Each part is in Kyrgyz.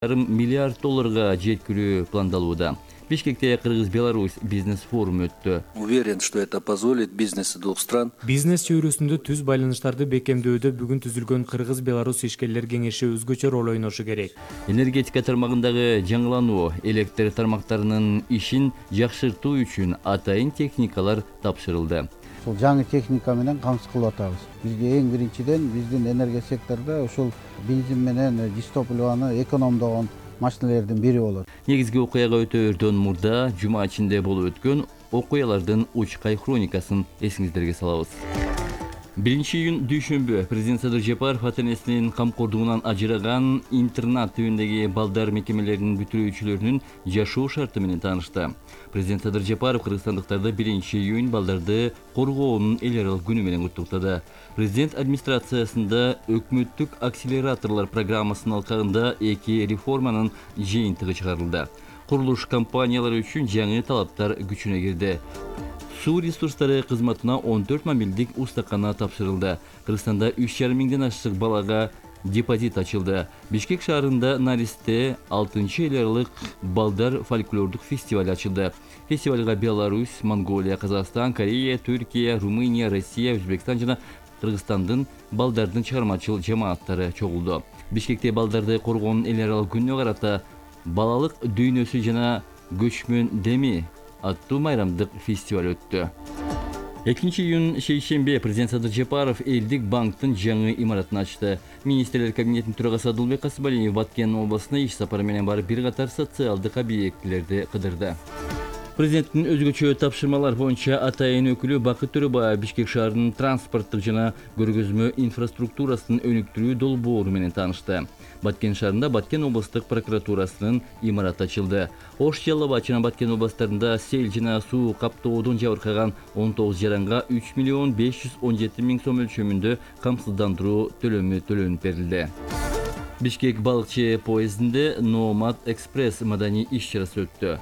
миллиард долларга жеткирүү пландалууда. Бишкекте Кыргыз-Беларусь бизнес-форуму өттү. Уверен, что это позволит бизнесу двух стран. Бизнес чөйрөсүндө түз байланыштарды бекемдөөдө бүгүн түзүлгөн Кыргыз-Беларусь ишкерлер кеңеши өзгөчө роль ойношу керек. Энергетика тармагындагы жаңылануу, электр тармактарынын ишин жакшыртуу үчүн атайын техникалар тапшырылды. Ушул жаңы техника менен камсыз кылып атабыз. Бизге эң биринчиден биздин энергия секторунда ушул бензин менен дистопливаны экономдогон машиналердин бири болот. Негизги окуяга өтөөрдөн мурда жума ичинде болуп өткөн окуялардын учкай хроникасын эсиңиздерге салабыз. 1-июнь дүйшөмбү президент Садыр Жапаров ата-энесинин камкордугунан ажыраган интернат түйүндөгү балдар мекемелеринин бүтүрүүчүлөрүнүн жашоо шарты менен таанышты. Президент Садыр Жапаров кыргызстандыктарды 1-июнь балдарды коргоонун эл аралык күнү менен куттуктады. Президент администрациясында өкмөттүк акселераторлор программасынын алкагында 2 реформанын жыйынтыгы чыгарылды. Курулуш компаниялары үчүн жаңы талаптар күчүнө кирди. Суу ресурстары кызматына 14 мобилдик устакана тапшырылды. Кыргызстанда 3,5 миңден ашык балага депозит ачылды. Бишкек шаарында Наристе 6-эл аралык балдар фольклордук фестиваль ачылды. Фестивалга Беларусь, Монголия, Казакстан, Корея, Түркия, Румыния, Россия, Өзбекстан жана Кыргызстандын балдардын чыгармачыл жамааттары чогулду. Бишкекте балдарды коргоонун эл аралык күнүнө карата балалык дүйнөсү жана көчмөн деми аттуу майрамдык фестиваль өттү. 2-июнь шейшембе президент Садыр Жапаров элдик банктын жаңы имаратын ачты. Министрлер кабинетинин төрагасы Адылбек Касымалиев Баткен областына иш сапары менен барып бир катар социалдык объектилерди кыдырды. Президенттин өзгөчө тапшырмалар боюнча атайын өкүлү Бакыт Төрөбаев Бишкек шаарынын транспорттук жана көргөзмө инфраструктурасын өнүктүрүү долбоору менен таанышты. Баткен шаарында Баткен областык прокуратурасынын имараты ачылды. Ош, Жалал Абад жана Баткен областарында сел жана суу каптоодон жабыркаган 19 жаранга 3 миллион 517 миң сом өлчөмүндө камсыздандыруу төлөмү төлөнүп берилди. Бишкек балыкчы поездинде Номад экспресс маданий иш-чарасы өттү.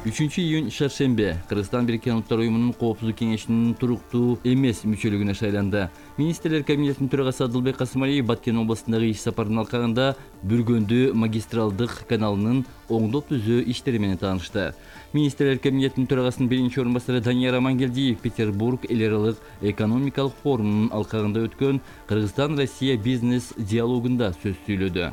3-июнь шаршембе Кыргызстан Бириккен Улуттар уюмунун коопсуздук кеңешинин туруктуу эмес мүчөлүгүнө шайланды. Министрлер кабинетинин төрагасы Адылбек Касымалиев Баткен областындагы иш сапарынын алкагында Бүргөндү магистралдык каналынын оңдоп түзөө иштери менен таанышты. Министрлер кабинетинин төрагасынын биринчи орун басары Данияр Амангелдиев Петербург эл аралык экономикалык форумунун алкагында өткөн Кыргызстан-Россия бизнес диалогунда сөз сүйлөдү.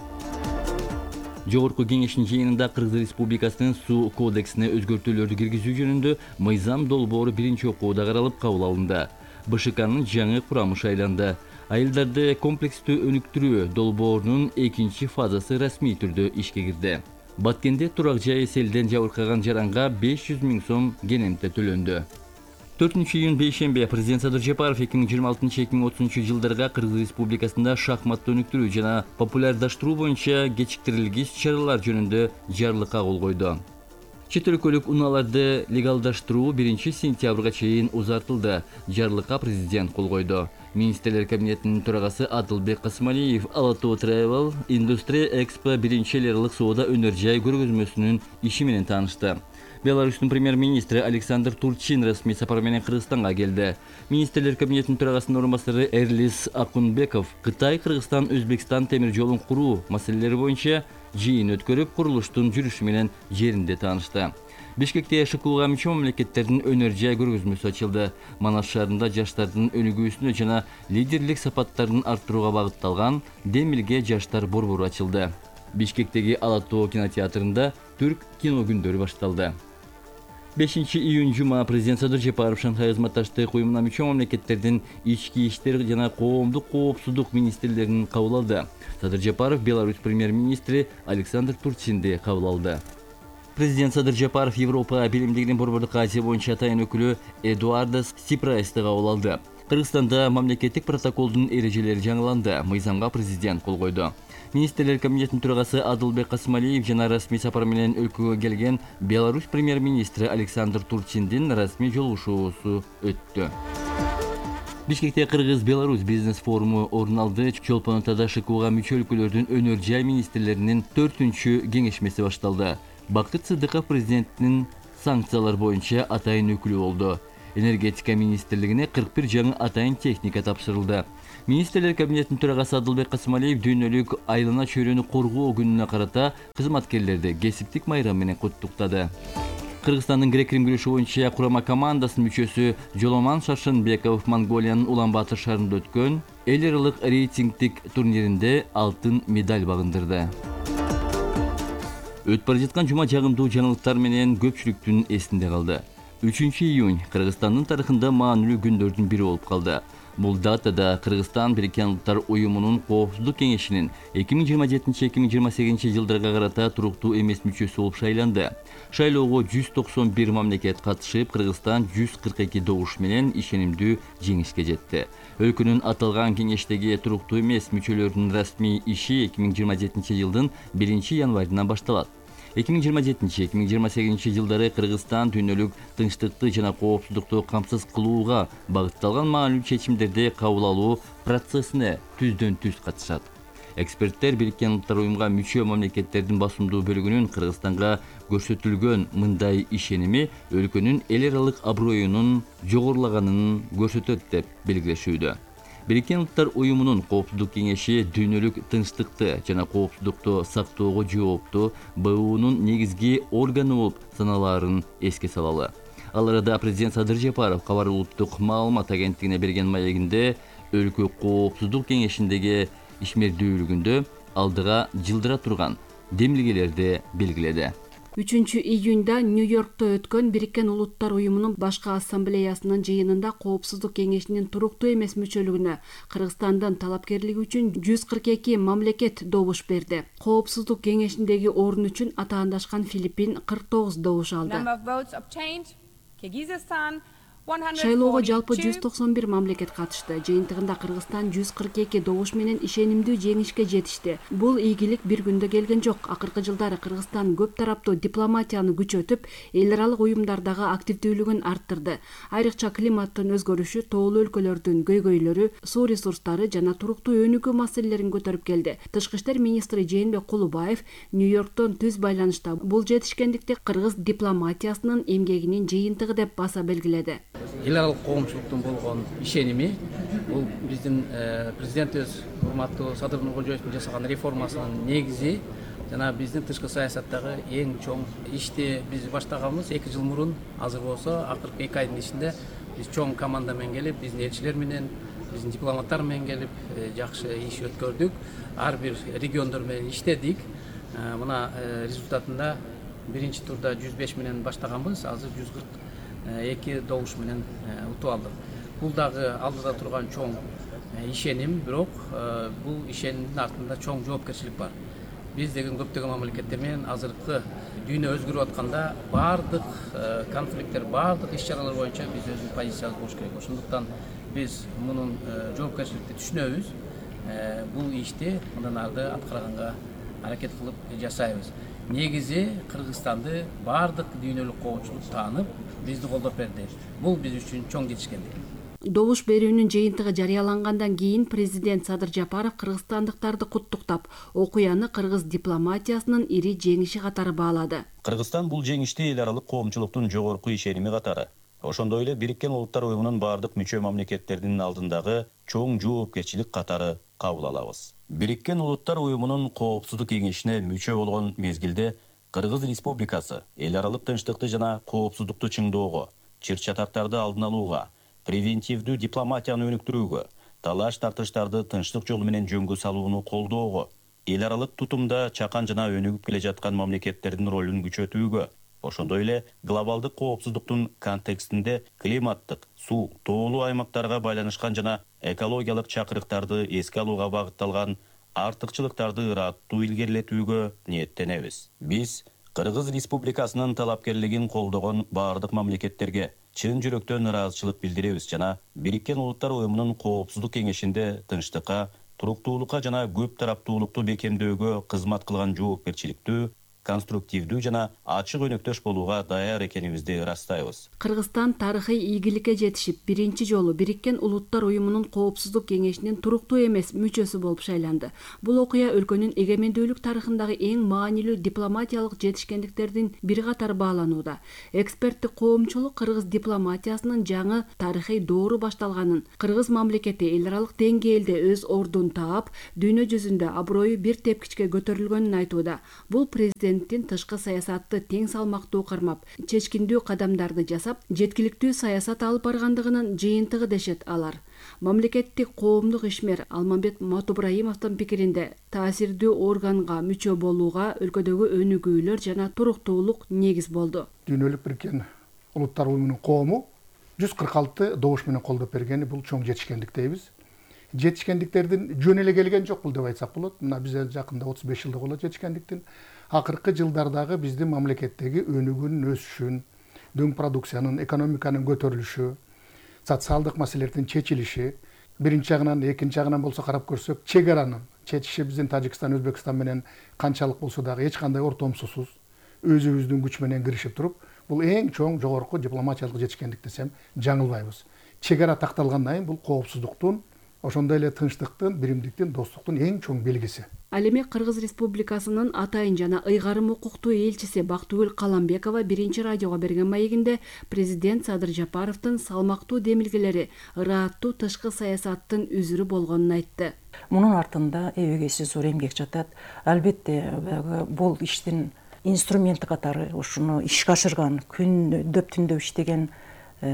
Жогорку кеңештин жыйынында Кыргыз Республикасынын суу кодексине өзгөртүүлөрдү киргизүү жөнүндө мыйзам долбоору биринчи окууда каралып кабыл алынды. БШКнын жаңы курамы шайланды. Айылдарды комплекстүү өнүктүрүү долбоорунун 2 фазасы расмий түрдө ишке кирди. Баткенде турак жайы селден жабыркаган жаранга 500 миң сом кенемте төлөндү. 4-июнь бейшембе президент Садыр Жапаров 2026-2030 жылдарга Кыргыз Республикасында шахматты өнүктүрүү жана популярдаштыруу боюнча кечиктирилгич чаралар жөнүндө жарлыкка кол койду. Чет өлкөлүк унааларды легалдаштыруу 1-сентябрга чейин узартылды. Жарлыкка президент кол койду. Министрлер кабинетинин төрагасы Адылбек Касымалиев Ала-Тоо Travel Industry Expo 1-эл аралык соода өнөр жай көргөзмөсүнүн иши менен таанышты. Беларустун премьер-министри Александр Турчин расмий сапар менен Кыргызстанга келди. Министрлер кабинетинин төрагасынын орун басары Эрлис Акунбеков Кытай, Кыргызстан, Өзбекстан темир жолун куруу маселелери боюнча жыйын өткөрүп, курулуштун жүрүшү менен жеринде таанышты. Бишкекте ШКУга мүчө мамлекеттердин өнөр жай көргөзмөсү ачылды. Манас шаарында жаштардын өнүгүүсүнө жана лидерлик сапаттарын арттырууга багытталган Демилге жаштар борбору ачылды. Бишкектеги Ала-Тоо кинотеатрында түрк кино күндөрү башталды. 5-июнь жума президент Садыр Жапаров Шанхай ызматташтык уюмуна мүчө мамлекеттердин ички иштер жана коомдук коопсуздук министрлерин кабыл алды. Садыр Жапаров Беларусь премьер-министри Александр Турчинди кабыл алды. Президент Садыр Жапаров Европа Биримдигинин Борбордук Азия боюнча атайын өкүлү Эдуардо Сипрайсты кабыл алды. Кыргызстанда мамлекеттик протоколдун эрежелери жаңыланды. Мыйзамга президент кол койду. Министрлер кабинетинин төрагасы Адылбек Касымалиев жана расмий сапар менен өлкөгө келген Беларусь премьер-министри Александр Турчиндин расмий жолугушуусу өттү. Бишкекте Кыргыз-Беларусь бизнес-форуму орун алды. Чолпон Атада ШКУга мүчө өлкөлөрдүн өнөр жай министрлеринин 4-чү кеңешмеси башталды. Бакыт Сыдыков президенттин санкциялар боюнча атайын өкүлү болду. Энергетика министрлигине 41 жаңы атайын техника тапшырылды. Министрлер кабинетинин төрагасы Адылбек Касымалиев дүйнөлүк айлана чөйрөнү коргоо күнүнө карата кызматкерлерди кесиптик майрам менен куттуктады. Кыргызстандын грек-рим күрөшү боюнча курама командасынын мүчөсү Жоломан Шаршенбеков Монголиянын Улан-Батыр шаарында өткөн эл аралык рейтингдик турниринде алтын медаль багындырды. Өтүп бара жаткан жума жагымдуу жаңылыктар менен көпчүлүктүн эсинде калды. 3-июнь Кыргызстандын тарыхында маанилүү күндөрдүн бири болуп калды. Бул датада Кыргызстан Бириккен Улуттар уюмунун Коопсуздук кеңешинин 2027-2028 жылдарга карата туруктуу эмес мүчөсү болуп шайланды. Шайлоого 191 мамлекет катышып, Кыргызстан 142 добуш менен ишенимдүү жеңишке жетти. Өлкөнүн аталган кеңештеги туруктуу эмес мүчөлөрүнүн расмий иши 2027 жылдын 1-январынан башталат. 2027-2028 жылдары Кыргызстан дүйнөлүк тынчтыкты жана коопсуздукту камсыз кылууга багытталган маанилүү чечимдерди кабыл алуу процессине түздөн-түз катышат. Эксперттер Бириккен Улуттар уюмга мүчө мамлекеттердин басымдуу бөлүгүнүн Кыргызстанга көрсөтүлгөн мындай ишеними өлкөнүн эл аралык аброюнун жогорулаганын көрсөтөт деп белгилешүүдө. Бириккен Улуттар уюмунун Коопсуздук кеңеши дүйнөлүк тынчтыкты жана коопсуздукту сактоого жооптуу БУнун негизги органы болуп саналаарын эске салалы. Ал арада президент Садыр Жапаров Кабар улуттук маалымат агенттигине берген маегинде өлкө Коопсуздук кеңешиндеги ишмердүүлүгүндө алдыга жылдыра турган демилгелерди белгиледи. 3-июнда Нью-Йоркто өткөн Бириккен Улуттар уюмунун башкы ассамблеясынын жыйынында Коопсуздук кеңешинин туруктуу эмес мүчөлүгүнө Кыргызстандын талапкерлиги үчүн 142 мамлекет добуш берди. Коопсуздук кеңешиндеги орун үчүн атаандашкан Филиппин 49 добуш алды. Шайлоого жалпы 191 мамлекет катышты. Жыйынтыгында Кыргызстан 142 добуш менен ишенимдүү жеңишке жетишти. Бул ийгилик бир күндө келген жок. Акыркы жылдары Кыргызстан көп тараптуу дипломатияны күчөтүп, эл аралык уюмдардагы активдүүлүгүн арттырды. Айрыкча климаттын өзгөрүшү, тоолуу өлкөлөрдүн көйгөйлөрү, суу ресурстары жана туруктуу өнүгүү маселелерин көтөрүп келди. Тышкы иштер министри Жээнбек Кулубаев Нью-Йорктон түз байланышта бул жетишкендикти кыргыз дипломатиясынын эмгегинин жыйынтыгы деп баса белгиледи. Эл аралык коомчулуктун болгон ишеними бул биздин президентибиз урматтуу Садыр Нуркожоевдун жасаган реформасынын негизи жана биздин тышкы саясаттагы эң чоң ишти биз баштаганбыз 2 жыл мурун. Азыр болсо акыркы 2 айдын ичинде биз чоң команда менен келип, биздин элчилер менен, биздин дипломаттар менен келип жакшы иш өткөрдүк. Ар бир региондор менен иштедик. Мына результатында биринчи турда 105 менен баштаганбыз, азыр 142 добуш менен утуп алдык. Бул дагы алдыда турган чоң ишеним, бирок бул ишенимдин артында чоң жоопкерчилик бар. Биз деген көптөгөн мамлекеттер менен азыркы дүйнө өзгөрүп атканда бардык конфликттер, бардык иш-чаралар боюнча биз өзүбүздүн позициябыз болуш керек. Ошондуктан биз мунун жоопкерчиликти түшүнөбүз. Бул ишти мындан ары аткарганга аракет кылып жасайбыз. Негизи Кыргызстанды бардык дүйнөлүк коомчулук таанып, бизди колдоп берди. Бул биз үчүн чоң жетишкендик. Добуш берүүнүн жыйынтыгы жарыялангандан кийин президент Садыр Жапаров кыргызстандыктарды куттуктап, окуяны кыргыз дипломатиясынын ири жеңиши катары баалады. Кыргызстан бул жеңишти эл аралык коомчулуктун жогорку ишеними катары, ошондой эле Бириккен Улуттар уюмунун бардык мүчө мамлекеттердин алдындагы чоң жоопкерчилик катары кабыл алабыз. Бириккен Улуттар уюмунун Коопсуздук кеңешине мүчө болгон мезгилде Кыргыз Республикасы эл аралык тынчтыкты жана коопсуздукту чыңдоого, чыр-чатактарды алдын алууга, превентивдүү дипломатияны өнүктүрүүгө, талаш-тартыштарды тынчтык жолу менен жөнгө салууну колдоого, эл аралык тутумда чакан жана өнүгүп келе жаткан мамлекеттердин ролун күчөтүүгө, ошондой эле глобалдык коопсуздуктун контекстинде климаттык, суу, тоолуу аймактарга байланышкан жана экологиялык чакырыктарды эске алууга багытталган артыкчылыктарды ыраттуу илгерилетүүгө ниеттенебиз. Биз Кыргыз Республикасынын талапкерлигин колдогон бардык мамлекеттерге чын жүрөктөн ыраазычылык билдиребиз жана Бириккен Улуттар уюмунун Коопсуздук кеңешинде тынчтыкка, туруктуулукка жана көп тараптуулукту бекемдөөгө кызмат кылган жоопкерчиликтүү конструктивдүү жана ачык өнөктөш болууга даяр экенибизди ырастайбыз. Кыргызстан тарыхый ийгиликке жетишип, биринчи жолу Бириккен Улуттар Уюмунун Коопсуздук кеңешинин туруктуу эмес мүчөсү болуп шайланды. Бул окуя өлкөнүн эгемендүүлүк тарыхындагы эң маанилүү дипломатиялык жетишкендиктердин бири катары бааланууда. Эксперттик коомчулук кыргыз дипломатиясынын жаңы тарыхый доору башталганын, кыргыз мамлекети эл аралык деңгээлде өз ордун таап, дүйнө жүзүндө аброю бир тепкичке көтөрүлгөнүн айтууда. Бул президенттин тышкы саясатты тең салмактуу кармап, чечкиндүү кадамдарды жасап, жеткиликтүү саясат алып баргандыгынын жыйынтыгы дешет алар. Мамлекеттик коомдук ишмер Алмамбет Матубраимовдун пикиринде, таасирдүү органга мүчө болууга өлкөдөгү өнүгүүлөр жана туруктуулук негиз болду. Дүйнөлүк Бириккен Улуттар Уюмунун коому 146 добуш менен колдоп бергени бул чоң жетишкендик дейбиз. Жетишкендиктердин жөн эле келген жок бул деп айтсак болот. Мына бизде жакында 35 жылдык болот жетишкендиктин. Акыркы жылдардагы биздин мамлекеттеги өнүгүүнүн өсүшүн, дөң продукциянын, экономиканын көтөрүлүшү, социалдык маселелердин чечилиши, биринчи жагынан, экинчи жагынан болсо карап көрсөк, чек аранын чечиши биздин Тажикстан, Өзбекстан менен канчалык болсо дагы эч кандай ортомсусуз өзүбүздүн күч менен киришип туруп, бул эң чоң жогорку дипломатиялык жетишкендик десем жаңылбайбыз. Чек ара такталгандан кийин бул коопсуздуктун, ошондой эле тынчтыктын, биримдиктин, достуктун эң чоң белгиси. Ал эми Кыргыз Республикасынын атайын жана ыйгарым укуктуу элчиси Бактыгүл Каламбекова биринчи радиого берген маегинде президент Садыр Жапаровдун салмактуу демилгелери ырааттуу тышкы саясаттын үзүрү болгонун айтты. Мунун артында эбегейси зор эмгек жатат. Албетте бул иштин инструменти катары ушуну ишке ашырган, күндөп түндөп иштеген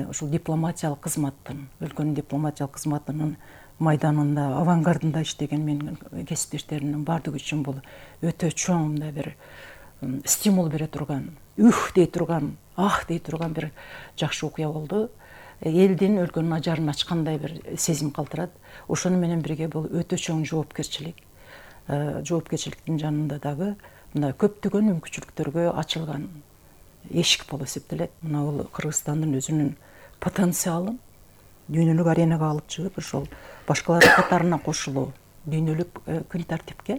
ушул дипломатиялык кызматтын, өлкөнүн дипломатиялык кызматынын майданында, авангардында иштеген менин кесиптештеримдин баардыгы үчүн бул өтө чоң мындай бир стимул бере турган, дей турган, дей турган бир жакшы окуя болду. Элдин, өлкөнүн ажарын ачкандай бир сезим калтырат. Ошону менен бирге бул өтө чоң жоопкерчилик. Жоопкерчиликтин жанында дагы мындай көптөгөн мүмкүнчүлүктөргө ачылган эшик болуп эсептелет. Мына бул Кыргызстандын өзүнүн потенциалын дүйнөлүк аренага алып чыгып, ошол башкалардын катарына кошулуу, дүйнөлүк күн тартипке,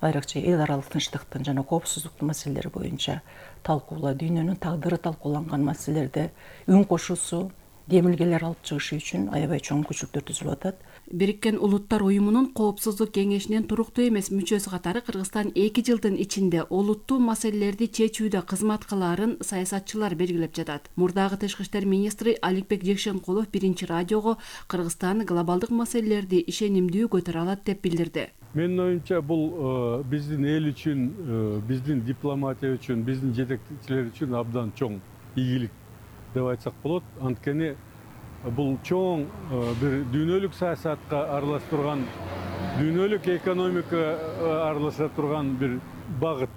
айрыкча эл аралык тынчтыктын жана коопсуздуктун маселелери боюнча талкуулоо, дүйнөнүн тагдыры талкууланган маселелерде үн кошуусу, демилгелер алып чыгышы үчүн аябай чоң мүмкүнчүлүктөр түзүлүп атат. Бириккен Улуттар Уюмунун Коопсуздук кеңешинин туруктуу эмес мүчөсү катары Кыргызстан 2 жылдын ичинде олуттуу маселелерди чечүүдө кызмат кылаарын саясатчылар белгилеп жатат. Мурдагы тышкы иштер министри Аликбек Жекшенкулов биринчи радиого Кыргызстан глобалдык маселелерди ишенимдүү көтөрө алат деп билдирди. Менин оюмча бул биздин эл үчүн, биздин дипломатия үчүн, биздин жетекчилер үчүн абдан чоң ийгилик деп айтсак болот. Анткени бул чоң бир дүйнөлүк саясатка аралаша турган, дүйнөлүк экономика аралаша турган бир багыт,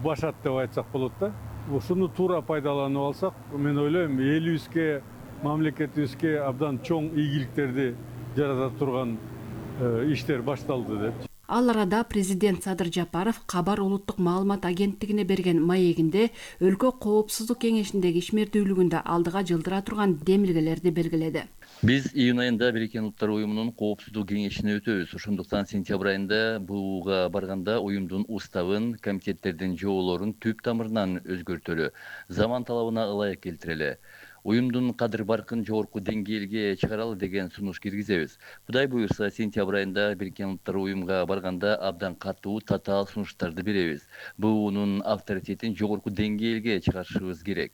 башат деп айтсак болот да. Ушуну туура пайдаланып алсак, мен ойлойм, элибизге, мамлекетибизге абдан чоң ийгиликтерди жарата турган иштер башталды деп. Ал арада президент Садыр Жапаров Кабар улуттук маалымат агенттигине берген маегинде өлкө коопсуздук кеңешиндеги ишмердүүлүгүндө алдыга жылдыра турган демилгелерди белгиледи. Биз июнь айында Бириккен Улуттар Уюмунун Коопсуздук кеңешине өтөбүз. Ошондуктан сентябрь айында буга барганда уюмдун уставын, комитеттердин жоолорун түп тамырынан өзгөртөлү, заман талабына ылайык келтирели. Уюмдун кадыр баркын жогорку деңгээлге чыгаралы деген сунуш киргизебиз. Кудай буюрса, сентябрь айында Бириккен Улуттар Уюмга барганда абдан катуу, татаал сунуштарды беребиз. БУнун авторитетин жогорку деңгээлге чыгарышыбыз керек.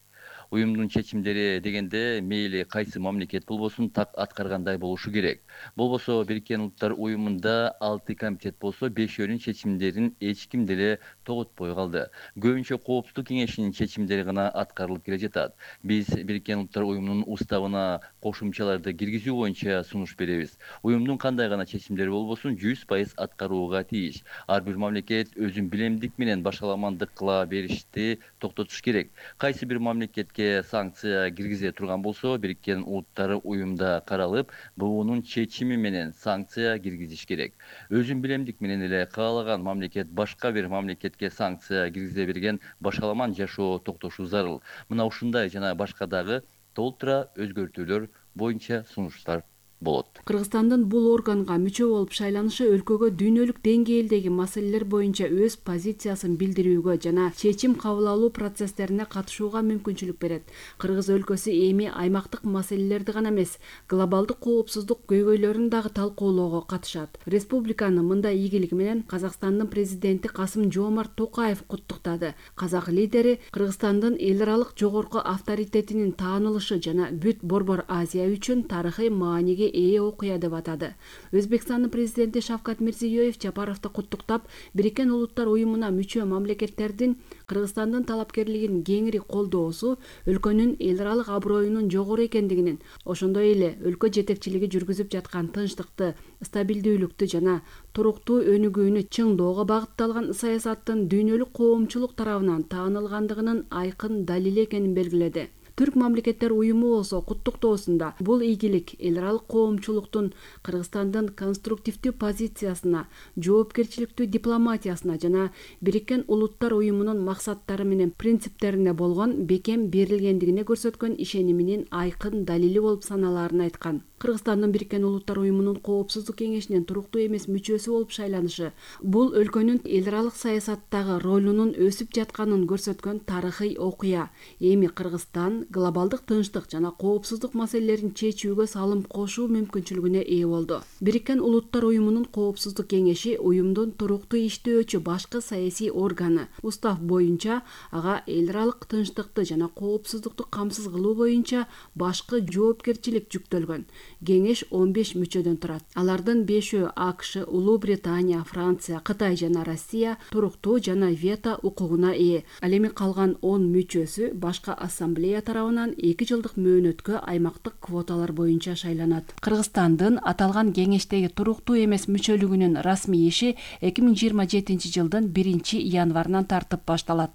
Уюмдун чечимдери дегенде мейли кайсы мамлекет болбосун так аткаргандай болушу керек. Болбосо Бириккен Улуттар Уюмунда 6 комитет болсо 5-өөнүн чечимдерин эч ким деле тоготпой калды. Көбүнчө коопсуздук кеңешинин чечимдери гана аткарылып келе жатат. Биз Бириккен Улуттар Уюмунун уставына кошумчаларды киргизүү боюнча сунуш беребиз. Уюмдун кандай гана чечимдери болбосун 100% аткарууга тийиш. Ар бир мамлекет өзүн билемдик менен башаламандык кыла беришти токтотуш керек. Кайсы бир мамлекетке санкция киргизе турган болсо, Бириккен Улуттар Уюмда каралып, БУнун чечими менен санкция киргизиш керек. Өзүн билемдик менен эле каалаган мамлекет башка бир мамлекетке санкция киргизе берген башаламан жашоо токтошу зарыл. Мына ушундай жана башка дагы толтура өзгөртүүлөр боюнча сунуштар болот. Кыргызстандын бул органга мүчө болуп шайланышы өлкөгө дүйнөлүк деңгээлдеги маселелер боюнча өз позициясын билдирүүгө жана чечим кабыл алуу процесстерине катышууга мүмкүнчүлүк берет. Кыргыз өлкөсү эми аймактык маселелерди гана эмес, глобалдык коопсуздук көйгөйлөрүн дагы талкуулоого катышат. Республиканы мындай ийгилиги менен Казакстандын президенти Касым-Жомарт Токаев куттуктады. Казак лидери Кыргызстандын эл аралык жогорку авторитетинин таанылышы жана бүт Борбор Азия үчүн тарыхый мааниге ээ окуя деп атады. Өзбекстандын президенти Шавкат Мирзиёев Жапаровду куттуктап, Бириккен Улуттар уюмуна мүчө мамлекеттердин Кыргызстандын талапкерлигин кеңири колдоосу өлкөнүн эл аралык аброюнун жогору экендигинин, ошондой эле өлкө жетекчилиги жүргүзүп жаткан тынчтыкты, стабилдүүлүктү жана туруктуу өнүгүүнү чыңдоого багытталган саясаттын дүйнөлүк коомчулук тарабынан таанылгандыгынын айкын далили экенин белгиледи. Түрк мамлекеттер уюму болсо куттуктоосунда бул ийгилик эл аралык коомчулуктун Кыргызстандын конструктивдүү позициясына, жоопкерчиликтүү дипломатиясына жана Бириккен Улуттар уюмунун максаттары менен принциптерине болгон бекем берилгендигине көрсөткөн ишениминин айкын далили болуп саналаарын айткан. Кыргызстандын Бириккен Улуттар уюмунун Коопсуздук кеңешинин туруктуу эмес мүчөсү болуп шайланышы бул өлкөнүн эл аралык саясаттагы ролунун өсүп жатканын көрсөткөн тарыхый окуя. Эми Кыргызстан глобалдык тынчтык жана коопсуздук маселелерин чечүүгө салым кошуу мүмкүнчүлүгүнө ээ болду. Бириккен Улуттар уюмунун Коопсуздук кеңеши уюмдун туруктуу иштөөчү башкы саясий органы. Устав боюнча ага эл аралык тынчтыкты жана коопсуздукту камсыз кылуу боюнча башкы жоопкерчилик жүктөлгөн. Кеңеш 15 мүчөдөн турат. Алардын 5-өө АКШ, Улуу Британия, Франция, Кытай жана Россия туруктуу жана вето укугуна ээ. Ал эми калган 10 мүчөсү башка ассамблея тарабынан 2 жылдык мөөнөткө аймактык квоталар боюнча шайланат. Кыргызстандын аталган кеңештеги туруктуу эмес мүчөлүгүнүн расмий иши 2027 жылдын 1-январынан тартып башталат.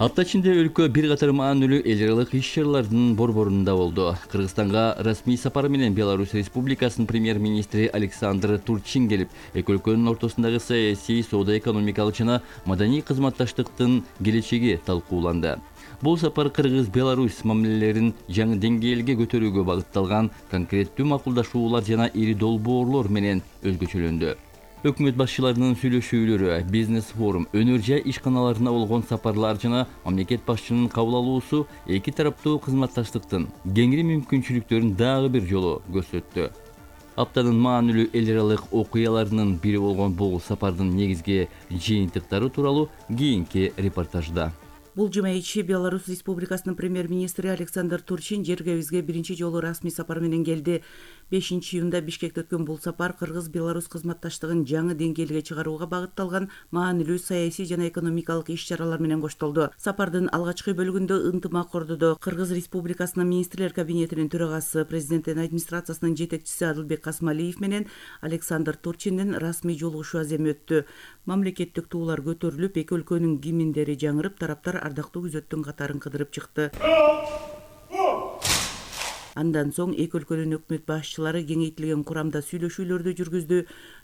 Апта ичинде өлкө бир катар маанилүү эл аралык иш-чаралардын борборунда болду. Кыргызстанга расмий сапары менен Беларусь Республикасынын премьер-министри Александр Турчин келип, эки өлкөнүн ортосундагы саясий, соода-экономикалык жана маданий кызматташтыктын келечеги талкууланды. Бул сапар Кыргыз-Беларусь мамилелерин жаңы деңгээлге көтөрүүгө багытталган конкреттүү макулдашуулар жана ири долбоорлор менен өзгөчөлөндү. Өкмөт башчыларынын сүйлөшүүлөрү, бизнес-форум, өнөр-жай ишканаларына болгон сапарлар жана мамлекет башчынын кабыл алуусу эки тараптуу кызматташтыктын кеңири мүмкүнчүлүктөрүн дагы бир жолу көрсөттү. Аптанын маанилүү эл аралык окуяларынын бири болгон бул сапардын негизги жыйынтыктары тууралуу кийинки репортажда. Бул жума ичи Беларусь Республикасынын премьер-министри Александр Турчин жергебизге биринчи жолу расмий сапар менен келди. 5-июнда Бишкекте өткөн бул сапар Кыргыз-Беларусь кызматташтыгын жаңы деңгээлге чыгарууга багытталган маанилүү саясий жана экономикалык иш-чаралар менен коштолду. Сапардын алгачкы бөлүгүндө ынтымак ордодо Кыргыз Республикасынын министрлер кабинетинин төрагасы, президенттин администрациясынын жетекчиси Адылбек Касмалиев менен Александр Турчиндин расмий жолугушуу аземи өттү. Мамлекеттик туулар көтөрүлүп, эки өлкөнүн гимндери жаңырып, тараптар ардактуу күзөттүн катарын кыдырып чыкты. Андан соң эки өлкөнүн өкмөт башчылары кеңейтилген курамда сүйлөшүүлөрдү жүргүздү.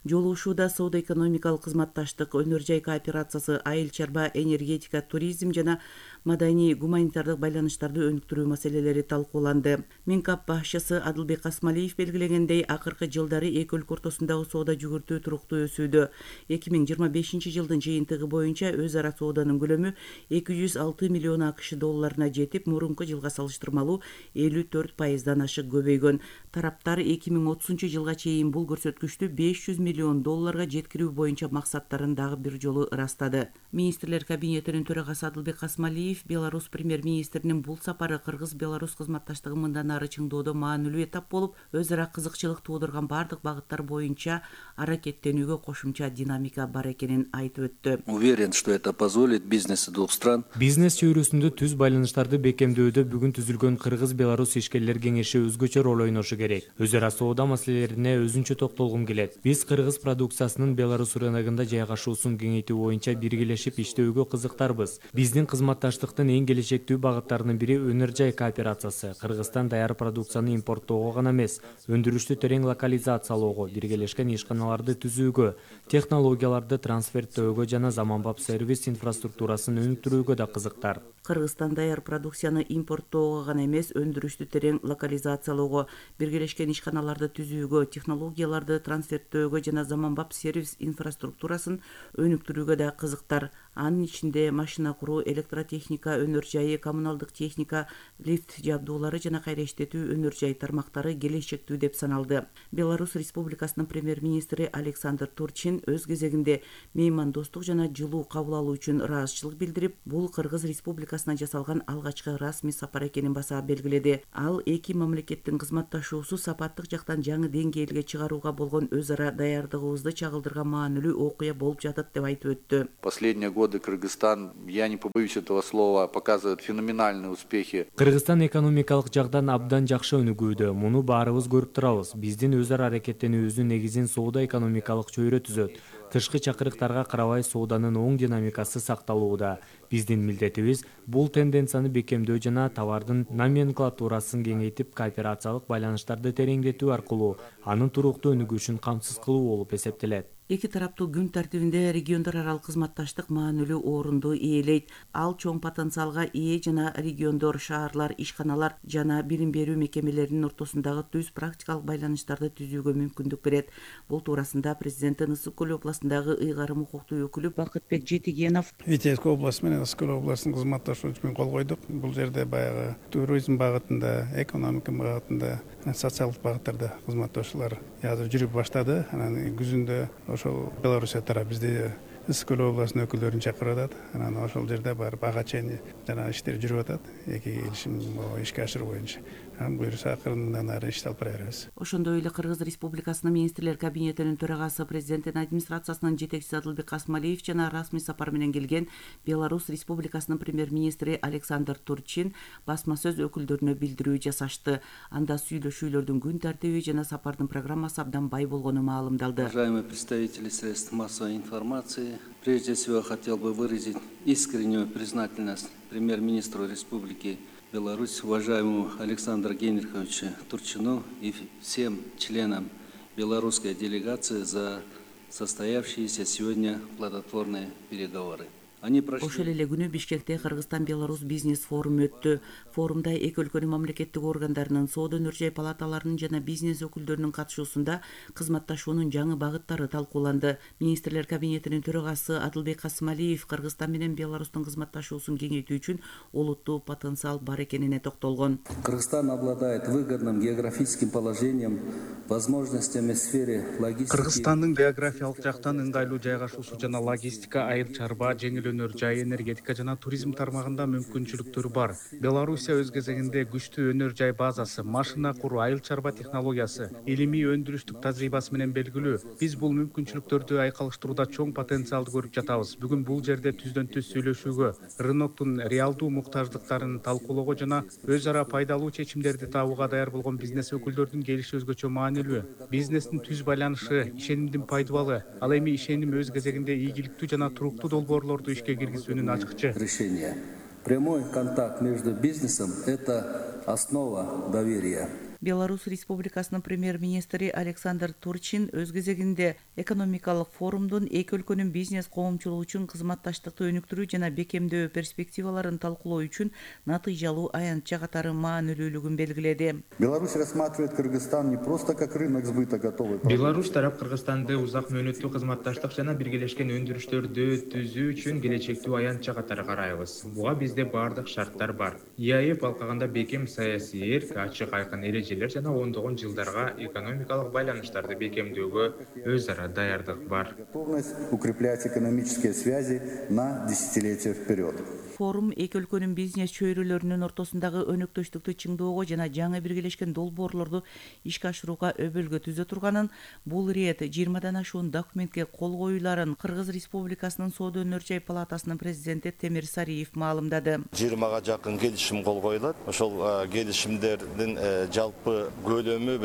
Жолугушууда соода-экономикалык кызматташтык, өнөр-жай кооперациясы, айыл чарба, энергетика, туризм жана маданий гуманитардык байланыштарды өнүктүрүү маселелери талкууланды. Минкап башчысы Адылбек Касмалиев белгилегендей, акыркы жылдары эки өлкө ортосундагы соода жүгүртүү туруктуу өсүүдө. 2025 жылдын жыйынтыгы боюнча өз ара сооданын көлөмү 206 миллион АКШ долларына жетип, мурунку жылга салыштырмалуу 54% ашык көбөйгөн. Тараптар 2030 жылга чейин бул көрсөткүчтү 500 миллион долларга жеткирүү боюнча максаттарын дагы бир жолу ырастады. Министрлер кабинетинин төрагасы Адылбек Касмалиев Беларусь премьер-министринин бул сапары Кыргыз-Беларусь кызматташтыгын мындан ары чыңдоодо маанилүү этап болуп, өз ара кызыкчылык туудурган бардык багыттар боюнча аракеттенүүгө кошумча динамика бар экенин айтып өттү. Уверен, что это позволит бизнесу двух стран. Бизнес чөйрөсүндө түз байланыштарды бекемдөөдө бүгүн түзүлгөн Кыргыз-Беларусь ишкерлер кеңеши өзгөчө роль ойношу керек. Өз ара соода маселелерине өзүнчө токтолгум келет. Биз Кыргыз продукциясынын Беларусь рыногунда жайгашуусун кеңейтүү боюнча биргелешип иштөөгө кызыктарбыз. Биздин кызматташтыктын эң келечектүү багыттарынын бири өнөр-жай кооперациясы. Кыргызстан даяр продукцияны импорттоого гана эмес, өндүрүштү терең локализациялоого, биргелешкен ишканаларды түзүүгө, технологияларды трансферттөөгө жана заманбап сервис инфраструктурасын өнүктүрүүгө да кызыктар. Кыргызстан даяр продукцияны импорттоого гана эмес, өндүрүштү терең делокализациялоого, биргелешкен ишканаларды түзүүгө, технологияларды трансферттөөгө жана заманбап сервис инфраструктурасын өнүктүрүүгө да кызыктар. Анын ичинде машина куруу, электротехника өнөр жайы, коммуналдык техника, лифт жабдуулары жана кайра иштетүү өнөр жай тармактары келечектүү деп саналды. Беларусь Республикасынын премьер-министри Александр Турчин өз кезегинде меймандостук жана жылуу кабыл алуу үчүн ыраазычылык билдирип, бул Кыргыз Республикасына жасалган алгачкы расмий сапар экенин баса белгиледи. Ал эки мамлекеттин кызматташуусу сапаттык жактан жаңы деңгээлге чыгарууга болгон өз ара даярдыгыбызды чагылдырган маанилүү окуя болуп жатат деп айтып өттү. Последние годы Кыргызстан, я не побоюсь этого слова, показывает феноменальные успехи. Кыргызстан экономикалык жактан абдан жакшы өнүгүүдө. Муну баарыбыз көрүп турабыз. Биздин өз ара аракеттенүүбүздүн негизин соода экономикалык чөйрө түзөт. Тышкы чакырыктарга карабай сооданын оң динамикасы сакталууда. Биздин милдетибиз бул тенденцияны бекемдөө жана товардын номенклатурасын кеңейтип, кооперациялык байланыштарды тереңдетүү аркылуу анын туруктуу өнүгүшүн камсыз кылуу болуп эсептелет. Эки тараптуу күн тартибинде региондор аралык кызматташтык маанилүү орунду ээлейт. Ал чоң потенциалга ээ жана региондор, шаарлар, ишканалар жана билим берүү мекемелеринин ортосундагы түз практикалык байланыштарды түзүүгө мүмкүндүк берет. Бул туурасында президенти Ысык көл областындагы ыйгарым укуктуу өкүлү Бакытбек Жетигенов Витебский областы менен Ысык көл областынын кызматташуу үчүн кол койдук. Бул жерде баягы туризм багытында, экономика багытында, социалдык багыттарда кызматташуулар азыр жүрүп баштады. Анан күзүндө ошол Белоруссия тарап бизде Ысык көл областынын өкүлдөрүн чакырып атат. Анан ошол жерде барып ага чейин жана иштер жүрүп атат. Эки келишим ишке ашыруу боюнча. Буюрса акырындан ары ишти алып бара беребиз. Ошондой эле Кыргыз Республикасынын министрлер кабинетинин төрагасы, президенттин администрациясынын жетекчиси Адылбек Касмалиев жана расмий сапар менен келген Беларусь Республикасынын премьер-министри Александр Турчин басма сөз өкүлдөрүнө билдирүү жасашты. Анда сүйлөшүүлөрдүн күн тартиби жана сапардын программасы абдан бай болгону маалымдалды. Уважаемые представители средств массовой информации, прежде всего хотел бы выразить искреннюю признательность премьер-министру Республики Беларусь, уважаемому Александру Генриховичу Турчину и всем членам белорусской делегации за состоявшиеся сегодня плодотворные переговоры. Ошол эле күнү Бишкекте Кыргызстан-Беларусь бизнес форуму өттү. Форумда эки өлкөнүн мамлекеттик органдарынын, соода өнөр жай палаталарынын жана бизнес өкүлдөрүнүн катышуусунда кызматташуунун жаңы багыттары талкууланды. Министрлер кабинетинин төрагасы Адылбек Касмалиев Кыргызстан менен Беларустун кызматташуусун кеңейтүү үчүн олуттуу потенциал бар экенине токтолгон. Кыргызстан обладает выгодным географическим положением, возможностями в сфере логистики. Кыргызстандын географиялык жактан ыңгайлуу жайгашуусу жана логистика, айыл чарба, жеңил өнөр жай, энергетика жана туризм тармагында мүмкүнчүлүктөр бар. Белоруссия өз кезегинде күчтүү өнөр жай базасы, машина куруу, айыл чарба технологиясы, илимий өндүрүштүк тажрыйбасы менен белгилүү. Биз бул мүмкүнчүлүктөрдү айкалыштырууда чоң потенциалды көрүп жатабыз. Бүгүн бул жерде түздөн түз сүйлөшүүгө, рыноктун реалдуу муктаждыктарын талкуулоого жана өз ара пайдалуу чечимдерди табууга даяр болгон бизнес өкүлдөрүнүн келиши өзгөчө маанилүү. Бизнестин түз байланышы ишенимдин пайдубалы. Ал эми ишеним өз кезегинде ийгиликтүү жана туруктуу долбоорлорду ишке киргизүүнүн ачкычы. Решение. Прямой контакт между бизнесом – это основа доверия. Беларусь Республикасынын премьер-министри Александр Турчин өз кезегинде экономикалык форумдун эки өлкөнүн бизнес коомчулугу үчүн кызматташтыкты өнүктүрүү жана бекемдөө перспективаларын талкуулоо үчүн натыйжалуу аянтча катары маанилүүлүгүн белгиледи. Беларусь рассматривает Кыргызстан не просто как рынок сбыта готовой. Беларусь тарап Кыргызстанды узак мөөнөттүү кызматташтык жана биргелешкен өндүрүштөрдү түзүү үчүн келечектүү аянтча катары карайбыз. Буга бизде бардык шарттар бар. ИАЭФ алкаганда бекем саясий эрк, ачык айкын эрежелер жана ондогон жылдарга экономикалык байланыштарды бекемдөөгө өз ара даярдык бар. Готовность укреплять экономические связи на десятилетия вперед. Форум эки өлкөнүн бизнес чөйрөлөрүнүн ортосундагы өнөктөштүктү чыңдоого жана жаңы биргелешкен долбоорлорду ишке ашырууга өбөлгө түзө турганын, бул ирет 20 ашуун документке кол коюуларын Кыргыз Республикасынын соода өнөр жай палатасынын президенти Темир Сариев маалымдады. 20 жакын келишим кол коюлат. Ошол келишимдердин жалпы көлөмү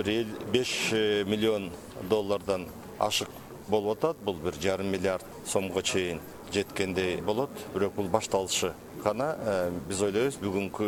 5 миллион доллардан ашык болуп атат. Бул 1,5 миллиард сомго чейин жеткендей болот. Бирок бул башталышы. гана биз ойлойбуз бүгүнкү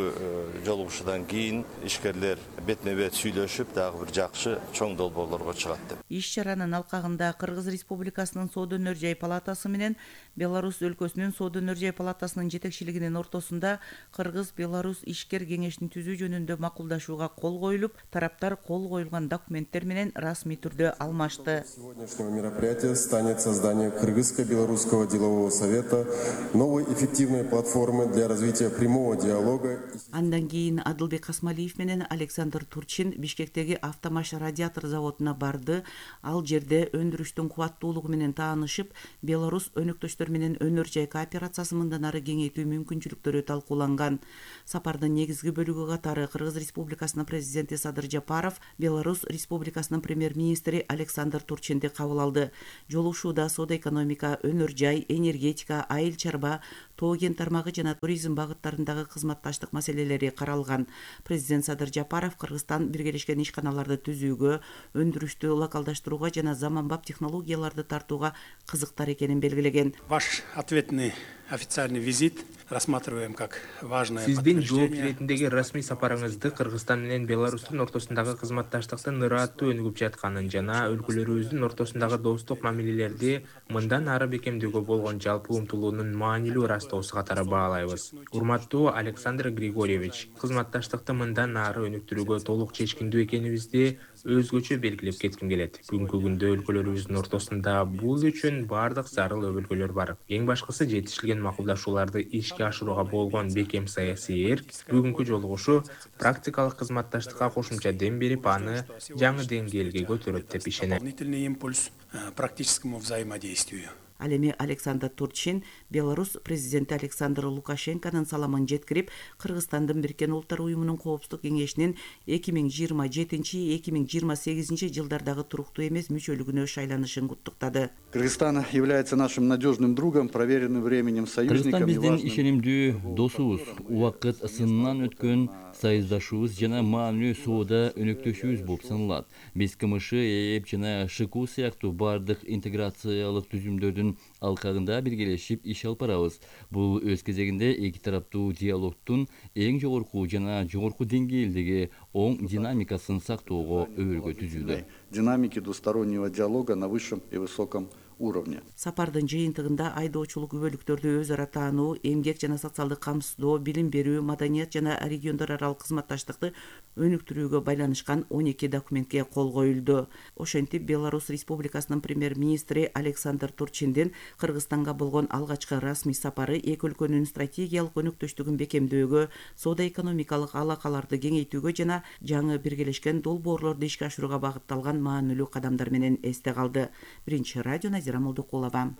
жолугушуудан кийин ишкерлер бетме-бет сүйлөшүп дагы бир жакшы чоң долбоорлорго чыгат деп. Иш чаранын алкагында Кыргыз Республикасынын Соода өнөр жай палатасы менен Беларусь өлкөсүнүн Соода өнөр жай палатасынын жетекчилигинин ортосунда Кыргыз-Беларусь ишкер кеңешин түзүү жөнүндө макулдашууга кол коюлуп, тараптар кол коюлган документтер менен расмий түрдө алмашты. Сегодняшнего мероприятия станет создание Кыргызско-Белорусского делового совета, новой эффективной платформы для развития прямого диалога. Андан кийин Адылбек Асмалиев менен Александр Турчин Бишкектеги автомаш радиатор заводуна барды. Ал жерде өндүрүштүн кубаттуулугу менен таанышып, Беларусь өнөктөштөр менен өнөр жай кооперациясы мындан ары кеңейтүү мүмкүнчүлүктөрү талкууланган. Сапардын негизги бөлүгү катары Кыргыз Республикасынын президенти Садыр Жапаров, Беларусь Республикасынын премьер-министри Александр Турчинди кабыл алды. Жолугушууда соода экономика, өнөр жай, энергетика, айыл чарба, тоо кен тармагы жана туризм багыттарындагы кызматташтык маселелери каралган. Президент Садыр Жапаров Кыргызстан биргелешкен ишканаларды түзүүгө, өндүрүштү локалдаштырууга жана заманбап технологияларды тартууга кызыктар экенин белгилеген. Ваш ответный официальный визит рассматриваем как важное Сиздин жооп подтверждение. иретиндеги расмий сапарыңызды Кыргызстан менен Беларустун ортосундагы кызматташтыктын ырааттуу өнүгүп жатканын жана өлкөлөрүбүздүн ортосундагы достук мамилелерди мындан ары бекемдөөгө болгон жалпы умтулуунун маанилүү ырастоосу катары баалайбыз. Урматтуу Александр Григорьевич, кызматташтыкты мындан ары өнүктүрүүгө толук чечкиндүү экенибизди өзгөчө белгилеп кетким келет. Бүгүнкү күндө өлкөлөрүбүздүн ортосунда бул үчүн бардык зарыл өбөлгөлөр бар. Эң башкысы жетишилген макулдашууларды ишке ашырууга болгон бекем саясий эрк. Бүгүнкү жолугушуу практикалык кызматташтыкка кошумча дем берип, аны жаңы деңгээлге көтөрөт деп ишенем. Дополнительный импульс практическому взаимодействию. Ал эми Александр Турчин Беларусь президенти Александр Лукашенконун саламын жеткирип, Кыргызстандын Бириккен Улуттар Уюмунун Коопсуздук кеңешинин 2027-2028 жылдардагы туруктуу эмес мүчөлүгүнө шайланышын куттуктады. Кыргызстан является нашим надежным другом, проверенным временем союзником. Кыргызстан биздин ишенимдүү досубуз, убакыт сынынан өткөн союздашуубуз жана маанилүү соода өнөктөшүүбүз болуп саналат. Биз КМШ, ЭЭП жана ШКУ сыяктуу бардык интеграциялык түзүмдөрдүн алкагында биргелешип иш алып барабыз. Бул өз кезегинде эки тараптуу диалогтун эң жогорку жана жогорку деңгээлдеги оң динамикасын сактоого өбөлгө түзүүдө. Динамики двустороннего диалога на высшем и высоком уровне. Сапардын жыйынтыгында айдоочулук өбөлүктөрдү өз ара таануу, эмгек жана социалдык камсыздоо, билим берүү, маданият жана региондор аралык кызматташтыкты өнүктүрүүгө байланышкан 12 документке кол коюлду. Ошентип Беларусь Республикасынын премьер-министри Александр Турчиндин Кыргызстанга болгон алгачкы расмий сапары эки өлкөнүн стратегиялык өнөктөштүгүн бекемдөөгө, соода экономикалык алакаларды кеңейтүүгө жана жаңы биргелешкен долбоорлорду ишке ашырууга багытталган маанилүү кадамдар менен эсте калды. Биринчи радио Назира Молдокулова.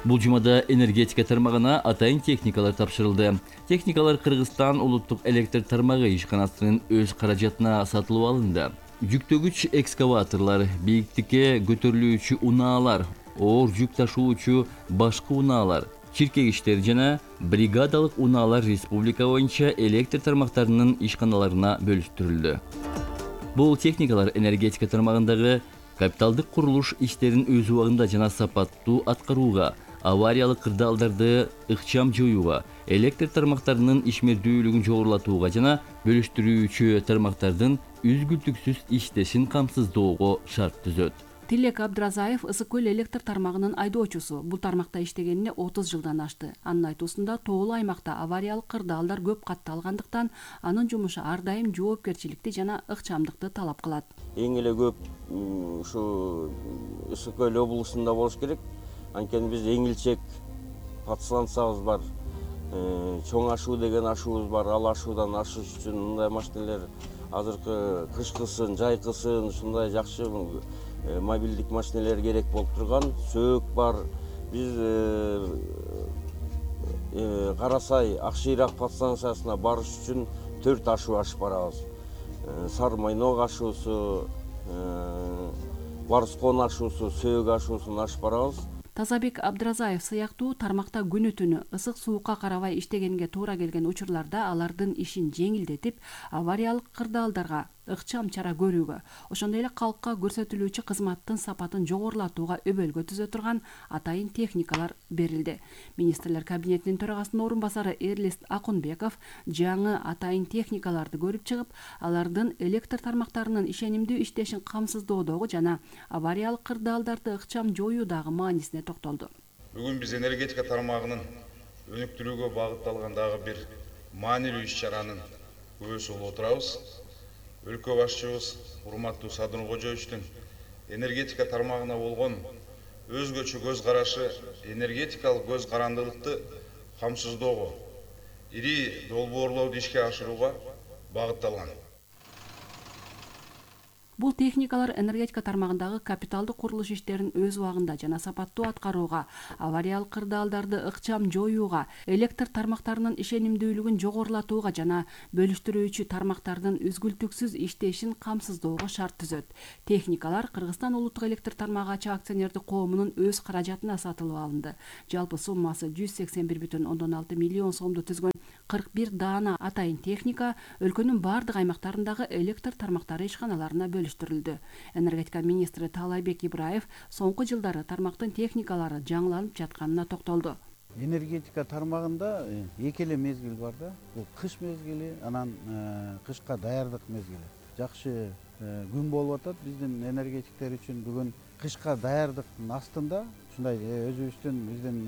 Бул жумада энергетика тармагына атайын техникалар тапшырылды. Техникалар Кыргызстан улуттук электр тармагы ишканасынын өз каражатына сатылып алынды. Жүктөгүч экскаваторлар, бийиктикке көтөрүлүүчү унаалар, оор жүк ташуучу башкы унаалар, чиркегичтер жана бригадалык унаалар республика боюнча электр тармактарынын ишканаларына бөлүштүрүлдү. Бул техникалар энергетика тармагындагы капиталдык курулуш иштерин өз убагында жана сапаттуу аткарууга, авариялык кырдаалдарды ыкчам жоюуга, электр тармактарынын ишмердүүлүгүн жогорулатууга жана бөлүштүрүүчү тармактардын үзгүлтүксүз иштешин камсыздоого шарт түзөт. Тилек Абдразаев Ысык көл электр тармагынын айдоочусу. Бул тармакта иштегенине 30 жылдан ашты. Анын айтуусунда тоолуу аймакта авариялык кырдаалдар көп катталгандыктан анын жумушу ар дайым жоопкерчиликти жана ыкчамдыкты талап кылат. Эң эле көп ушу Ысык көл облусунда болуш керек. Анткени биз эң илчек подстанциябыз бар. Чоң ашуу деген ашуубуз бар. Ал ашуудан ашыш үчүн мындай машиналар азыркы кышкысын, жайкысын ушундай жакшы мобилдик машиналар керек болуп турган. Сөөк бар. Биз Карасай Акшыйрак подстанциясына барыш үчүн 4 ашуу ашып барабыз. Сары Майнок ашуусу, Барскон ашуусу, Сөөк ашуусун ашып барабыз. Тазабек Абдразаев сыяктуу тармакта күнү-түнү ысык суукка карабай иштегенге туура келген учурларда алардын ишин жеңилдетип, авариялык кырдаалдарга ыкчам чара көрүүгө, ошондой эле калкка көрсөтүлүүчү кызматтын сапатын жогорулатууга өбөлгө түзө турган атайын техникалар берилди. Министрлер кабинетинин төрагасынын орун басары Эрлист Акунбеков жаңы атайын техникаларды көрүп чыгып, алардын электр тармактарынын ишенимдүү иштешин камсыздоодогу жана авариялык кырдаалдарды ыкчам жоюудагы маанисине токтолду. Бүгүн биз энергетика тармагынын өнүктүрүүгө багытталган дагы бир маанилүү иш-чаранын күбөсү болуп отурабыз. Өлкө башчыбыз урматтуу Садыр Кожоевичтин энергетика тармагына болгон өзгөчө көз карашы энергетикалык көз карандылыкты камсыздоого, ири долбоорлооду ишке ашырууга багытталган. Бул техникалар энергетика тармагындагы капиталдык курулуш иштерин өз убагында жана сапаттуу аткарууга, авариялык кырдаалдарды ыкчам жоюуга, электр тармактарынын ишенимдүүлүгүн жогорулатууга жана бөлүштүрүүчү тармактардын үзгүлтүксүз иштешин камсыздоого шарт түзөт. Техникалар Кыргызстан улуттук электр тармагы ачык акционердик коомунун өз каражатына сатылып алынды. Жалпы суммасы 181,6 миллион сомду түзгөн 41 даана атайын техника өлкөнүн бардык аймактарындагы электр тармактары ишканаларына бөлүштүрүлдү. Энергетика министри Таалайбек Ибраев соңку жылдары тармактын техникалары жаңыланып жатканына токтолду. Энергетика тармагында эки эле мезгил бар да. Бул кыш мезгили, анан кышка даярдык мезгили. Жакшы күн болуп атат биздин энергетиктер үчүн. Бүгүн кышка даярдыктын астында ушундай өзүбүздүн биздин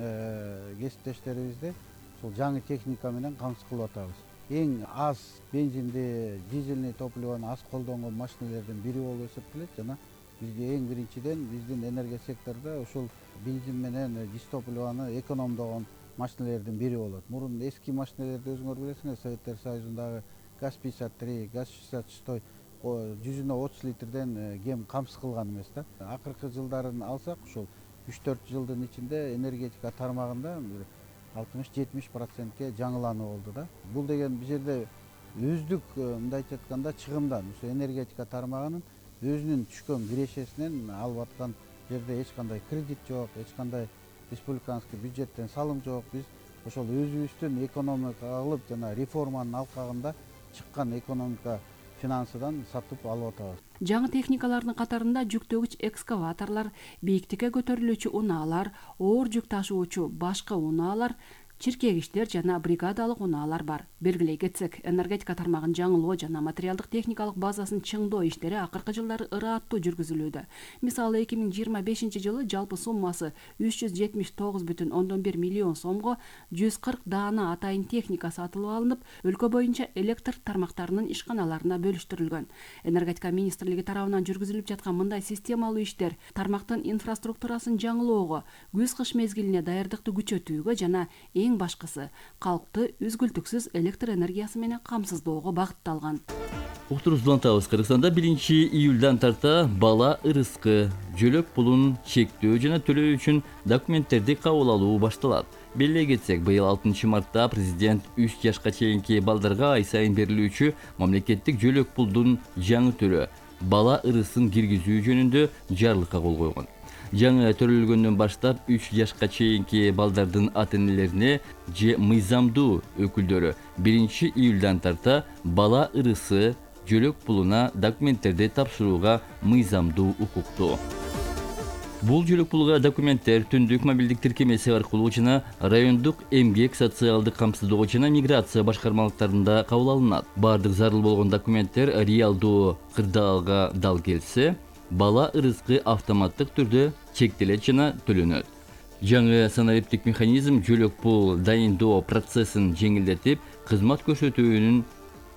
кесиптештерибизди жаңы техника менен камсыз кылып атабыз. Эң аз бензинди, дизельный топливону аз колдонгон машиналердин бири болуп эсептелет жана бизде эң биринчиден биздин энергия секторунда ушул бензин менен дизтопливону экономдогон машиналердин бири болот. Мурун эски машиналерди өзүңөр билесиңер, Советтер Союзундагы ГАЗ-53, ГАЗ-66 130 литрден кем камсыз кылган эмес да. Акыркы жылдарын алсак, ушул 3-4 жылдын ичинде энергетика тармагында 60-70%ке жаңылануу болду да. Бул деген бул жерде өздүк мындайча айтканда чыгымдан, ошо энергетика тармагынын өзүнүн түшкөн кирешесинен алып аткан жерде эч кандай кредит жок, эч кандай республиканский бюджеттен салым жок. Биз ошол өзүбүздүн экономика кылып жана реформанын алкагында чыккан экономика финансыдан сатып алып атабыз. Жаңы техникалардын катарында жүктөгүч экскаваторлор, бийиктикке көтөрүлүүчү унаалар, оор жүк ташуучу башка унаалар, чиркегичтер жана бригадалык унаалар бар. Белгилей кетсек, энергетика тармагын жаңылоо жана материалдык техникалык базасын чыңдоо иштери акыркы жылдары ырааттуу жүргүзүлүүдө. Мисалы 2025-жылы жалпы суммасы 379,1 миллион сомго 140 даана атайын техника сатылып алынып, өлкө боюнча электр тармактарынын ишканаларына бөлүштүрүлгөн. Энергетика министрлиги тарабынан жүргүзүлүп жаткан мындай системалуу иштер тармактын инфраструктурасын жаңылоого, күз-кыш мезгилине даярдыкты күчөтүүгө жана эң башкысы калкты үзгүлтүксүз электр энергиясы менен камсыздоого багытталган. Уктуруп улантабыз. Кыргызстанда 1-июлдан тарта бала ырыскы, жөлөк пулун чектөө жана төлөө үчүн документтерди кабыл алуу башталат. Белгилей кетсек, быйыл 6 мартта президент 3 жашка чейинки балдарга ай сайын берилүүчү мамлекеттик жөлөк пулдун жаңы түрү бала ырысын киргизүү жөнүндө жарлыкка кол койгон. Жаңы төрөлгөндөн баштап 3 жашка чейинки балдардын ата-энелерине же мыйзамдуу өкүлдөрү 1-июлдан тарта бала ырысы жөлөк пулуна документтерди тапшырууга мыйзамдуу укуктуу. Бул жөлөк пулга документтер түндүк мобилдик тиркемеси аркылуу жана райондук эмгек социалдык камсыздоо жана миграция башкармалыктарында кабыл алынат. Бардык зарыл болгон документтер реалдуу кырдаалга дал келсе, бала ырыскы автоматтык түрдө чектелет жана төлөнөт. Жаңы санариптик механизм жөлөк пул дайындоо процессин жеңилдетип, кызмат көрсөтүүнүн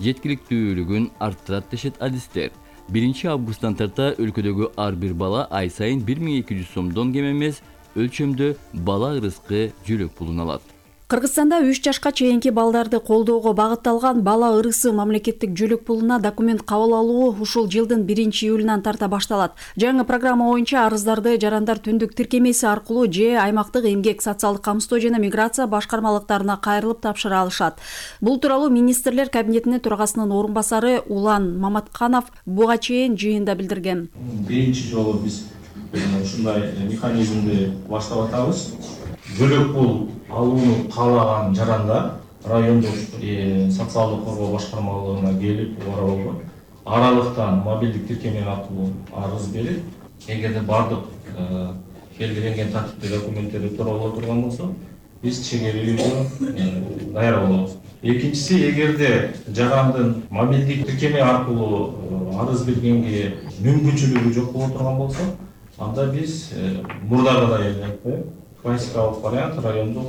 жеткиликтүүлүгүн арттырат дешет адистер. 1 августтан тарта өлкөдөгү ар бир бала ай сайын 1200 сомдон кем эмес өлчөмдө бала ырыскы жөлөк пулун алат. Кыргызстанда 3 жашка чейинки балдарды колдоого багытталган бала ырысы мамлекеттик жөлөк пулуна документ кабыл алуу ушул жылдын 1-июлунан тарта башталат. Жаңы программа боюнча арыздарды жарандар түндүк тиркемеси аркылуу же аймактык эмгек социалдык камсыздоо жана миграция башкармалыктарына кайрылып тапшыра алышат. Бул тууралуу министрлер кабинетинин төрагасынын орун басары Улан Маматканов буга чейин жыйында билдирген. Биринчи жолу биз ушундай механизмди баштап атабыз. Жөлөк пул алууну каалаган жарандар райондук социалдык коргоо башкармалыгына келип, ора болгон аралыктан мобилдик тиркеме аркылуу арыз берип, эгерде бардык белгиленген тартипте документтерди тууралуу турган болсо, биз чегерүүгө даяр болобуз. Экинчиси, эгерде жарандын мобилдик тиркеме аркылуу арыз бергенге мүмкүнчүлүгү жок боло турган болсо, анда биз мурдагыдай эле классикалык вариант райондук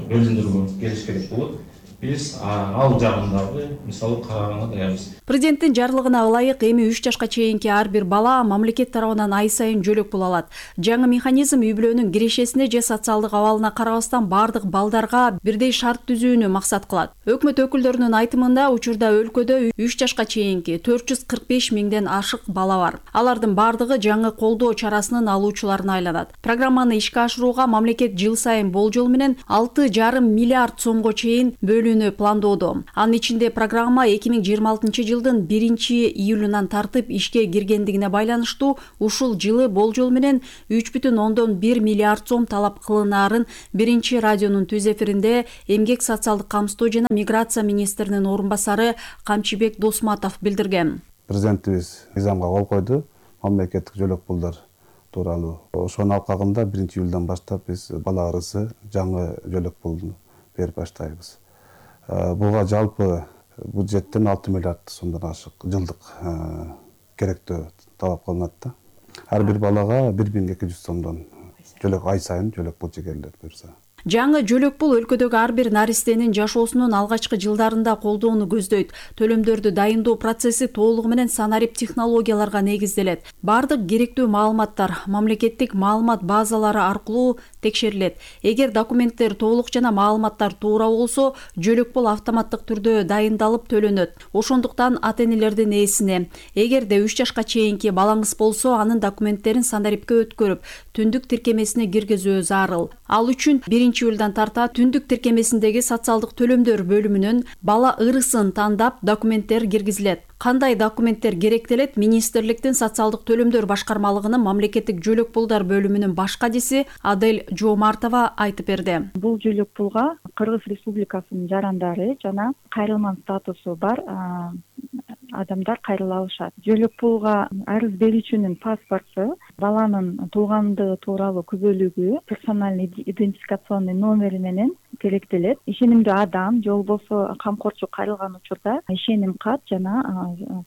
бөлүмдөргө келиш керек болот. Биз ал жагындагы мисалы караганга даярбыз. Президенттин жарлыгына ылайык эми 3 жашка чейинки ар бир бала мамлекет тарабынан ай сайын жөлөк пул алат. Жаңы механизм үй-бүлөнүн кирешесине же социалдык абалына карабастан бардык балдарга бирдей шарт түзүүнү максат кылат. Өкмөт өкүлдөрүнүн айтымында учурда өлкөдө 3 жашка чейинки 445 миңден ашык бала бар. Алардын бардыгы жаңы колдоо чарасынын алуучуларына айланат. Программаны ишке ашырууга мамлекет жыл сайын болжол менен 6,5 миллиард сомго чейин пландоодо. Анын ичинде программа 2026 жылдын 1-июлунан тартып ишке киргендигине байланыштуу ушул жылы болжол менен 3,1 миллиард сом талап кылынаарын Биринчи радионун түз эфиринде Эмгек социалдык камсыздоо жана миграция министринин орун басары Камчыбек Досматов билдирген. Президентибиз мыйзамга кол койду. Мамлекеттик жөлөк пулдар тууралуу. Ошонун алкагында 1-июлдан баштап биз бала арызы жаңы жөлөк пулду берип баштайбыз. Буга жалпы бюджеттен 6 миллиард сомдон ашык жылдык керектөө талап кылынат да. Ар бир балага 1200 сомдон жөлөк ай сайын жөлөк пул чегерилет буюрса. Жаңы жөлөк пул өлкөдөгү ар бир наристенин жашоосунун алгачкы жылдарында колдоону көздөйт. Төлөмдөрдү дайындоо процесси толугу менен санарип технологияларга негизделет. Бардык керектүү маалыматтар мамлекеттик маалымат базалары аркылуу текшерилет. Эгер документтер толук жана маалыматтар туура болсо, жөлөк пул автоматтык түрдө дайындалып төлөнөт. Ошондуктан ата-энелердин ээсине, эгерде 3 жашка чейинки балаңыз болсо, анын документтерин санарипке өткөрүп, түндүк тиркемесине киргизүү зарыл. Ал үчүн 1-июлдан тарта түндүк тиркемесиндеги социалдык төлөмдөр бөлүмүнөн бала ырысын тандап документтер киргизилет. Кандай документтер керектелет? Министрликтин социалдык төлөмдөр башкармалыгынын мамлекеттик жөлөк пулдар бөлүмүнүн баш кадиси Адель Жоомартова айтып берди. Бул жөлөк пулга Кыргыз Республикасынын жарандары жана кайрылман статусу бар адамдар кайрыла алышат. Жөлөк пулга арыз берүүчүнүн паспорту, баланын туугандыгы тууралуу күбөлүгү, персональный идентификационный номери менен керектелет. Ишенимдүү адам же болбосо камкорчу кайрылган учурда ишеним кат жана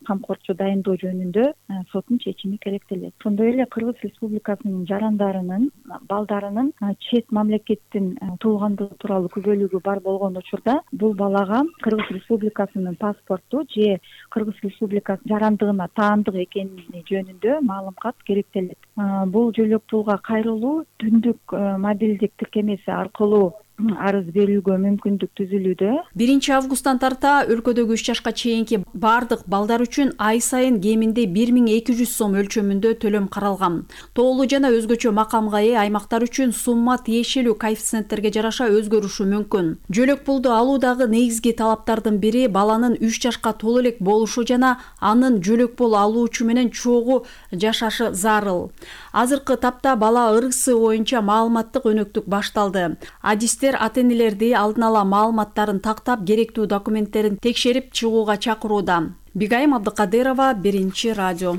камкорчу дайындоо жөнүндө соттун чечими керектелет. Ошондой эле Кыргыз Республикасынын жарандарынын балдарынын чет мамлекеттин туугандыгы тууралуу күбөлүгү бар болгон учурда бул балага Кыргыз Республикасынын паспорту же Кыргыз Республикасы жарандыгына таандык экени жөнүндө маалым кат керектелет. Бул жөлөк пулга кайрылуу түндүк мобилдик тиркемеси аркылуу арыз берүүгө мүмкүндүк түзүлүүдө. 1-августтан тарта өлкөдөгү 3 жашка чейинки бардык балдар үчүн ай сайын кеминде 1200 сом өлчөмүндө төлөм каралган. Тоолуу жана өзгөчө макамга ээ аймактар үчүн сумма тиешелүү коэффициенттерге жараша өзгөрүшү мүмкүн. Жөлөк пулду алуудагы негизги талаптардын бири баланын 3 жашка толо элек болушу жана анын жөлөк пул алуучу менен чогуу жашашы зарыл. Азыркы тапта бала ырысы боюнча маалыматтык өнөктүк башталды. Адистер ата-энелерди алдын ала маалыматтарын тактап, керектүү документтерин текшерип чыгууга чакырууда. Бигайым Абдыкадырова, Биринчи радио.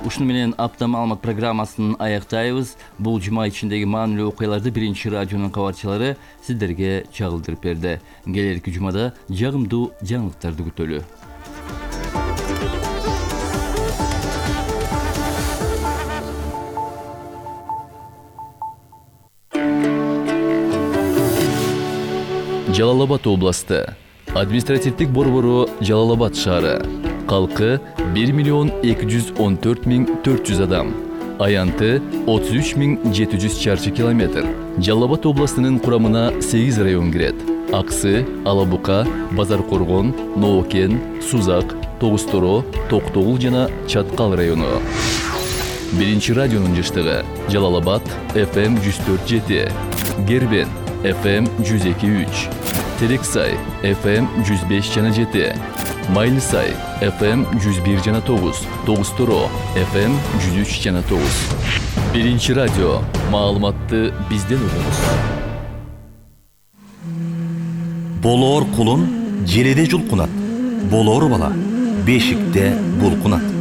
Ушуну менен апта маалымат программасын аяктайбыз. Бул жума ичиндеги маанилүү окуяларды Биринчи радионун кабарчылары сиздерге чагылдырып берди. Келерки жумада жагымдуу жаңылыктарды күтөлү. Жалал-Абад областы. Административдик борбору Жалал-Абад шаары. Калкы 1,214,400 адам. Аянты 33,700 чарчы километр. Жалал-Абад областынын курамына 8 район кирет. Аксы, Алабука, Базар Коргон, Ноокен, Сузак, Тогусторо, Токтогул жана Чаткал району. Биринчи радионун жыштыгы Жалал-Абад FM 104.7, Гербен FM 102.3, Терексай FM 105.7, Майлысай FM 101.9, Тогусторо FM 103.9. Биринчи радио. Маалыматты бизден угуңуз. Болоор кулун желеде жулкунат. Болоор бала бешикте булкунат.